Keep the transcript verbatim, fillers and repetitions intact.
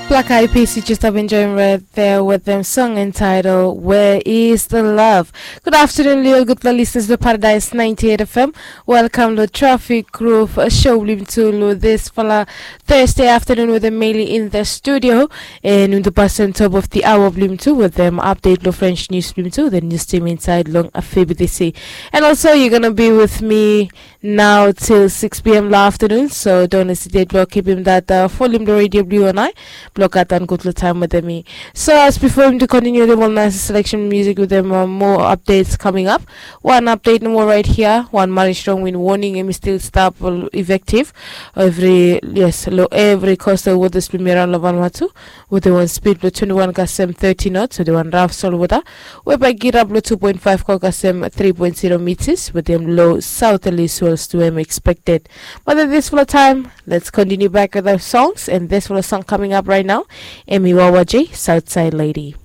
Black Eyed Peas, you just have enjoying right there with them song entitled Where Is the Love. Good afternoon, Leo. Good for listeners to Paradise ninety-eight F M. Welcome to Traffic Groove, a show blim to this fala Thursday afternoon with Emily in the studio. And in the past on top of the hour blim to with them update lo French news blim to the news team inside long a fabi they say. And also you're gonna be with me now till six p m lo afternoon. So don't hesitate blo keep him that uh, volume the radio blue and I blo got and good lo time with me. So as before him to continue the one nice selection music with them uh, more updates coming up. One update no more right here. One Mari Strong win warning him still stop effective. Every yes lo every coastal waters blim around lo Vanuatu with the one speed lo twenty-one kasem thirty knots with the one rough sol water. We by get up lo two point five kol kasem three point zero meters with them low southerly swells to him expected. But at this full time, let's continue back with our songs. And this full song coming up right now, Emi Wawaji, Southside Lady.